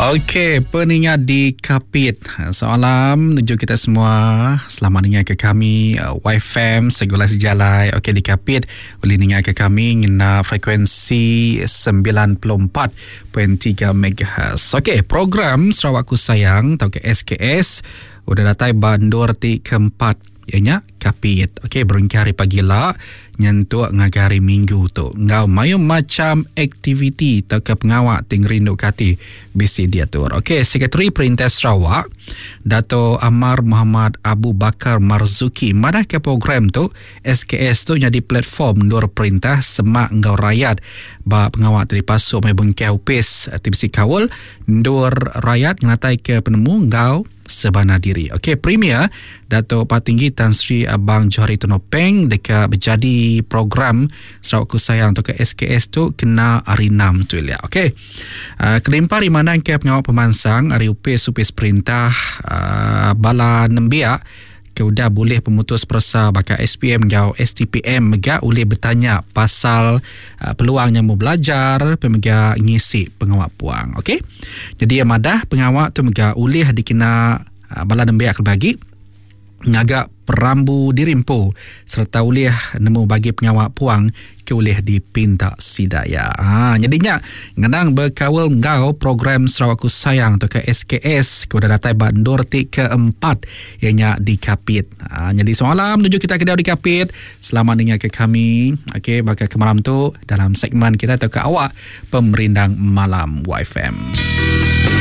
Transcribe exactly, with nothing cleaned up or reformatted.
Okey, peningat di Kapit. Salam menuju kita semua. Selamat ningat ke kami Y F M Segulai Sejalai. Okey, di Kapit boleh ningat ke kami ngena frekuensi sembilan puluh empat perpuluhan tiga megahertz. Okey, program Sarawakku Sayang atau ke S K S udah datai bandur ti keempat ianya Kapit. Okey, berengkah hari pagi lah nyentuk ngagai hari Minggu tu. Ngau mayu macam aktiviti atau ke pengawak ting rindu kati bisi diatur. Okey, Sekretari Perintah Sarawak Dato Amar Muhammad Abu Bakar Marzuki madah ke program tu S K S tu jadi platform nur perintah semak ngau rakyat ba pengawak tadi pasuk mai bengkau upis T B C Kaul nur rakyat ngatai ke penemu ngau sebana diri. Okey, Premier Dato' Patinggi Tan Sri Abang Johari Tun Openg dekat berjadi program Sarawakku Sayang atau ke S K S tu kena hari enam tu ya. Okey. Uh, kelimpah di mana ke pengawal pemansang hari upis upis perintah uh, bala nembiak ke udah boleh pemutus persa bakal S P M ngau S T P M mega boleh bertanya pasal uh, peluang yang mau belajar pemega ngisi pengawak puang. Okey. Jadi yang madah pengawak tu mega ulih dikena uh, bala nembiak bagi ngagak perambu dirimpu serta ulih nemu bagi pengawak puang ke ulih dipinta sidaya. Ha, jadinya ngenang berkawal ngau program Sarawakku Sayang atau ke S K S ke udah datai bandur ti keempat ianya di Kapit. Ha, jadi semalam menuju kita ke di Kapit. Selamat dengar ke kami. Okey, bakal ke malam tu dalam segmen kita atau ke awak Pemerindang Malam Y F M.